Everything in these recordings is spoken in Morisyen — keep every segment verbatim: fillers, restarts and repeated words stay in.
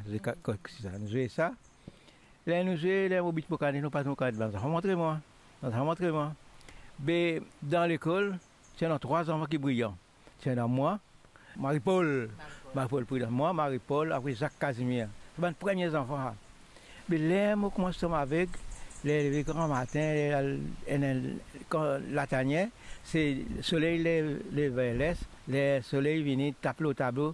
Zwe ka-, ko-, koze sa, nou zwe sa. Ler nou zwe, ler mo bit mo kanet, mo pas mo kanet, bann zanfan montre mwa. Bann zanfan montre mwa. Be, dan lekol, ti ena trwa zanfan ki briyan. Ti ena mwa, Marie-Paul. Marie-Paul. Marie-Paul Prudent. Mwa, Marie-Paul, apre Zak Kazimir. Se bann premie zanfan sa. Me ler mo koumans tom aveg, ler leve gramatin, ler al, enn, enn, kan latanie, se soley lev, lev ver les, ler soley vini tap lor tablo,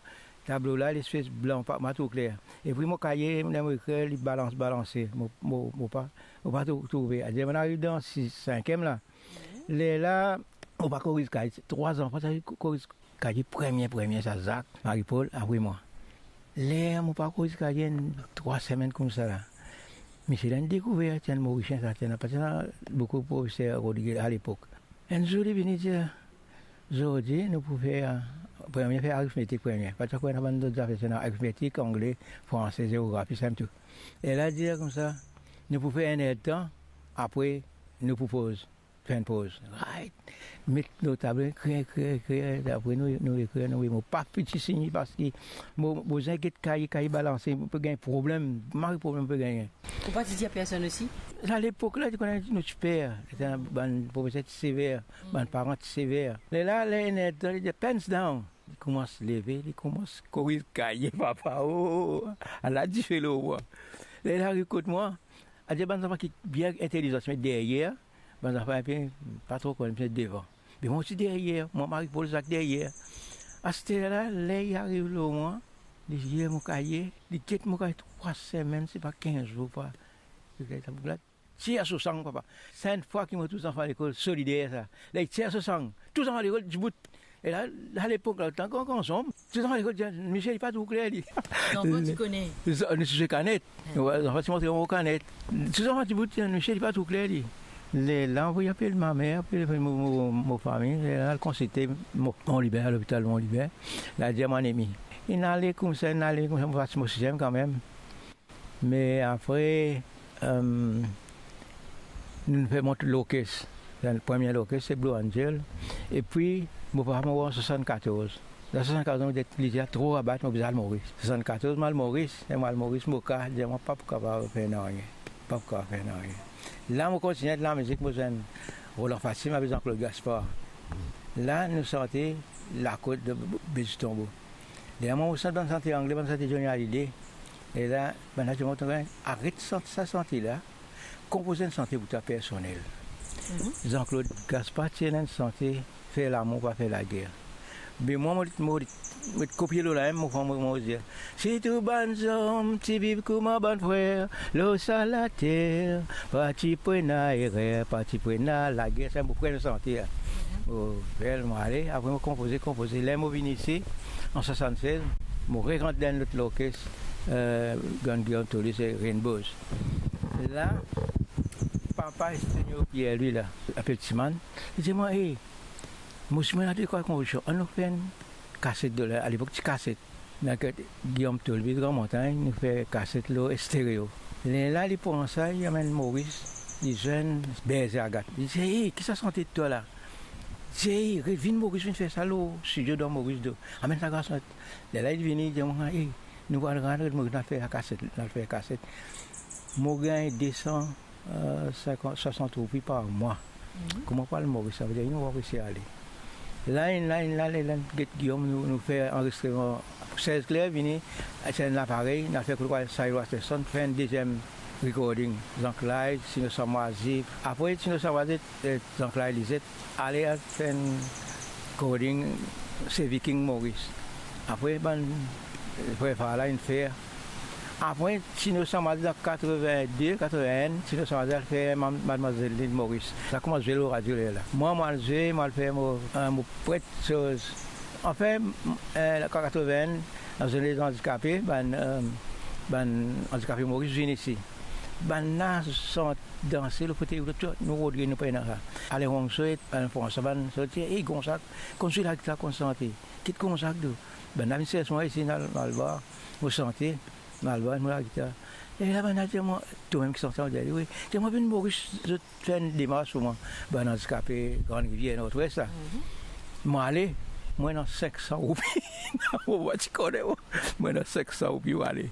tablo la, lespes blan, pa, pa tro kler. Epi mo kaye, ler mo ekrir, li balans, balanse. Mo, mo, mo pa, mo pa tro, trouve. Adir, mo ariv dan sis, sinkiem la. Lerla, mo pa koriz kaye. Trwa zanfan, sa ko-, koriz kaye premie, premie, sa Zak, Marie-Paul, apre mwa. Ler mo pa koriz kaye enn trwa semenn koumsa la, misie la inn dekouver, ti enn Morisien sa, ti ena, pa ti ena boukou profeser Rodriguez alepok. Enn zour li vini dir, "Zordi, nou pou fer, premie, fer aritmetik premie." Pa ti ankor ena bann lot zafer, ti ena aritmetik, angle, franse, zeografi, sa tou. E la, dir koumsa, "Nou pou fer enn erdtan, apre nou pou poz." Fer enn poz. Right. Met lor tablo, ekrir, ekrir, ekrir. Apre nou, nou ekrir, nou, mo pa fouti sign li parski mo, mo bizin get kaye, kaye balanse, mo pe gagn problem, mari problem mo pe gagn. Ou pa ti dir a personn osi? Lepok la, ti kone nou ti per, bann profeser ti sever, bann paran ti sever. Lerla, ler enn erdtan, li dir, "Pens down." Li koumans leve, li koumans koriz kaye, papa, oh, ala dife lor mwa. Ler li ariv kot mwa, adir bann zanfan ki bien intelizan ti met deryer, bann zanfan inpe pa tro konn, ti met devan. Me mwa ti deryer, mwa, Marie-Paul, Zak deryer. Aster la, ler li ariv lor mwa, li lir mo kaye, li get mo kaye trwa semenn, se pa kinz zour pa. Li get mo kaye, tir so sang, papa. Sa enn fwa ki mo trouv zanfan lekol solider sa. Ler li tir so sang, tou zanfan lekol dibout. E la, alepok la, letan gran, gran zonm, tou zanfan lekol dir, "Misie, li pa trouv kler li." Zanfan ti kone. Zanfan ti kanet. Wi, zanfan ti montre mo kanet. Tou zanfan dibout, "Misie, li pa trouv kler li." Lerla, anvoy apel mamer, apel mo, mo, mo fami, lerla al konsilte Mont, Mont Liber, lopital Mont Liber. La dir mo anemi. Inn ale koumsa, inn ale koumsa, mo pas mo siziem kanmem. Me apre, em, nou fer mont lorkes. Premie lorkes, se Blue Angel. Epi, mo papa mor an swasannkatorz. Dan swasannkatorz, mo dir li ti tro rabat, mo bizin al Moris. Swasannkatorz, mo al Moris, e mo al Moris, mo ka, dir mwa pa pou kapav fer nanye. Pa pou kapav fer nanye. La, mo kontigne lamizek, mo zwenn Roland Fatim avek Jean-Claude Gaspard. La, nou sante Lakot de Be-, Bezi Tonbo. Lerla mo sant bann sante angle, bann sante Johnny Hallyday. E la, bann la dir mwa, "Aret sant sa sante la, konpoz enn sante pou twa personel." Jean-Claude Gaspard ti ena enn sante, "Fer lamour, pa fer lager." Me mwa, mo, mo, mo kopie lor la mem, mo, mo, mo dir, "Si tou bann zom ti viv kouma bann frer lor sa later, pa ti pou ena erer, pa ti pou ena lager." Sa mo premie sante la. Mo fer, mo ale, apre mo konpoze, konpoze. Ler mo vinn isi, an swasannsez, mo re rant dan enn lot lorkes, eh, Grann Guillaume Tolus, se Rainbows. La, papa Estegno Pierre, li la, apel Timan, li dir mwa, "Ey, mo osi mo ena de trwa konpozision, annou fer enn kaset de la." Alepok ti kaset. Ena Guillaume Tolus, Gran Montagn, nou fer kaset lor estereo. Lerla li pran sa, li amenn Moris, li zwenn Berze Agat. Li dir, "Ey, ki sa sante twa la?" Li dir, "Ey, re-, vinn Moris, vinn fer sa lor stidio dan Moris do. Amenn sa garson." Lerla li vini, li dir mwa, "Ey, nou al, al, al Moris, nou al fer kaset, nou al fer kaset." Mo gagn de san, eh, sinkant, swasant roupi par mwa. Kouma pou al Moris, savedir inn war isi ale. La, inn la, inn la, lerla get Guillaume, nou, nou fer anrezistreman. Serge Clair vini, ti ena laparey, nou al fer kot Cyril Watterson, fer enn deziem recording. Jean-Claude, Tino Samwazi. Apre Tino Samwazi, eh, Jean-Claude Lizet, ale al fer enn recording, se Viking Moris. Apre bann, eh, frer Fala inn fer. Apre, Tino Samwazi dan katrevin-de, katrevin-enn, Tino Samwazi al fer Mam-, Madmwazel Lil Moris. Sa koumans zwe lor radio lerla. Mwa, mo al zwe, mo al fer mo, eh, mo pret soz. Anfin, eh, katrevin-enn, nou zwenn lezandikape, bann, eh, bann andikape Moris vinn isi. Bannla sant, danse, lor fotey, tou, nou rod li, nou pena sa. Alain Ronceau, Alain François, bann, zot ti, "Ey, Gonzak, konn zwe lagita, konn sante. Kit Gonzak, tou." Bannla vinn sers mwa isi, nou al, nou al war, mo sante, mo al war, mo lagitar. E la, bannla dir mwa, "Tomem ki sante?" Mo dir, "Wi." Dir mwa, "Vinn Moris, zot fer enn demars pou mwa." Bann andikape Grande Rivière, Nord-Ouest la. Mo ale, mo ena sink san roupi. Mo pa ti kone, mo ena sink san roupi, mo ale.